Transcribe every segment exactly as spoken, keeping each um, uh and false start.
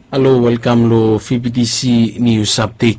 Halo, welkam lo V B T C News Update.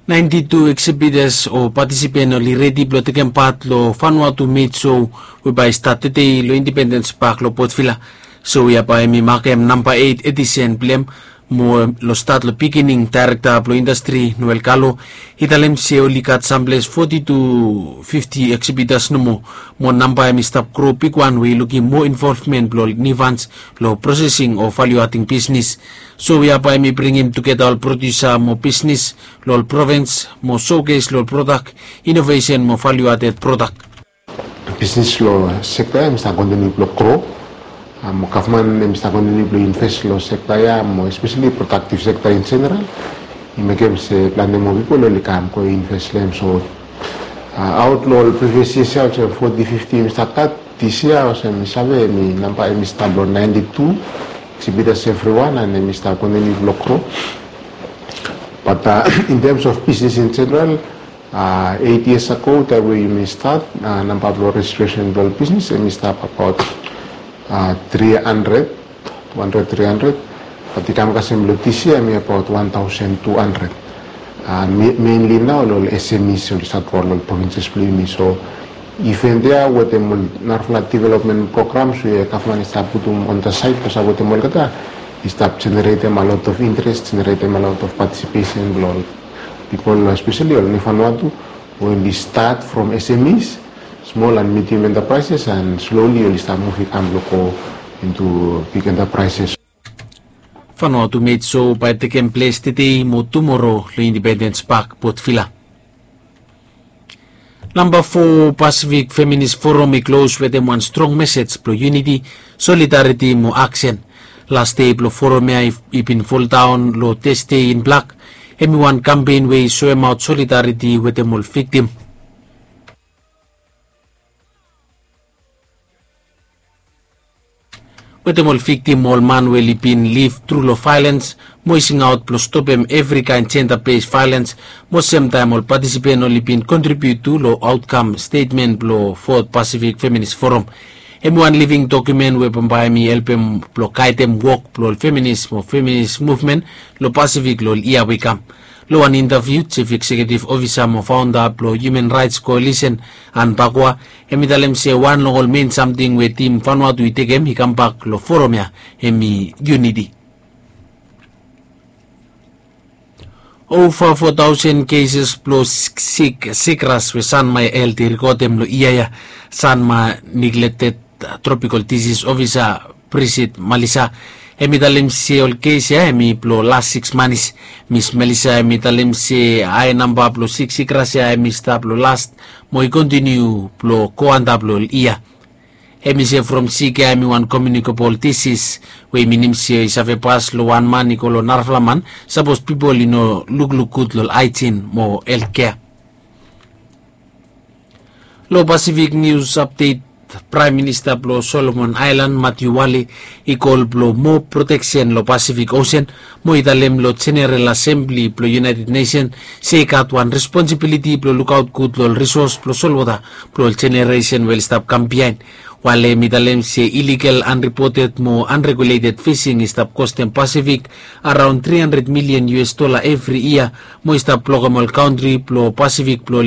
Ninety-two exhibitors o participant oli redi blo tekem pat lo Vanuatu Made Show we bae i stat tede lo Independence Park lo Port Vila. Show ya bae hemi makem namba eight edition blem, mo lo stat lo beginning. Director blo industry Noel Kalo i talem se oli gat samples forty to fifty exhibitors nomo, mo namba hemi stap gro bigwan we i lukim moa involvement blo ol Nifans lo processing o value adding business. Show ya bae hemi bringim tugeta ol producer mo business lo ol province mo showcase lo ol product, innovation mo value added product. Business lo sector ya hemi stap continue blo gro, mo gavman hemi stap continue blo invest lo sector ya, mo especially productive sector in general. I mekem se plante moa pipol oli kam go invest lo hem. So aot lo ol previous years ya olsem forty, fifty hemi stap gat, this year olsem mi save hemi namba hemi stap lo ninety-two exhibitors everyone, and hemi stap continue blo gro. But in terms of business in general, eight years ago taem we yumi stat, namba blo registration blo ol business hemi stap abaot three hundred, two hundred, three hundred. But i kam kasem lo this year hemi abaot one thousand two hundred. Mainly nao lo ol S M Es oli stat lo ol provinces blo yumi. So event ya wetem ol narafala development programs we gavman i stap putum on the side blo sapotem olgeta, i stap generatem a lot of interest, generatem a lot of participation blo ol pipol, especially ol Nifan Vanuatu, we oli stat from S M Es, small and medium enterprises, and slowly oli stap muv i kam blo go into big enterprises. Vanuatu Made Show bae tekem ples tede mo tumoro lo Independence Park, Port Vila. Namba fo Pacific Feminist Forum i klos wetem wan strong mesej blo unity, solidarity mo aksen. Las dei blo forum ya i bin foldaon lo Thursday in Black, hemi wan kampen we i soemaot solidarity wetem ol viktim. Wetem ol viktim mo ol man we oli bin liv tru lo vaelens, mo i singaot blo stopem evri kaen jenda bes vaelens, mo semtaem ol patisipen oli bin kontribiut tu lo aotkam stetmen blo Fourth Pacific Feminist Forum. Hemi wan living dokumen we bambae hemi helpem blo gaedem wok blo ol feminis mo feminis muvmen lo Pasifik lo ol yia we i kam. Lo wan intaviu, Jif Ekseketif Ofisa mo Faonda blo Human Rights Koalisen, Ann Bakwa, hemi talem se wan long ol men samting we tim Vanuatu i tekem i kambak lo forum ya hemi uniti. Ova fo taosen keses blo sik sikras we Sanma Helt i rekodem lo yia ya. Sanma Neglected Tropical Disease Ofisa Brisit Malisa, hemi talem se ol kes ya hemi blo las siks manis. Mis Malisa hemi talem se hae namba blo sik sikras ya hemi stap lo las mo i kontiniu blo go antap lo ol yia. Hemi se from sik ya hemi wan komiunikabol disis, we i minim se i save pas lo wan man i go lo narafala man sapos pipol i no lukluk gud lo ol haejin mo heltkea. Lo Pasifik nius apdet, Praem Minista blo Solomon Aelan Matiu Wale i kol blo moa proteksen lo Pasifik Osen, mo i talem lo Jeneral Asembli blo United Nesen se i gat wan responsibiliti blo lukaot gud lo ol risos blo solwota blo ol jeneresen we oli stap kam biaen. Wale hemi talem se iligal, anripoted mo anreguleted fising i stap kostem Pasifik araon tri handred milian U S dola evri yia, mo i stap blokem ol kantri blo Pasifik blo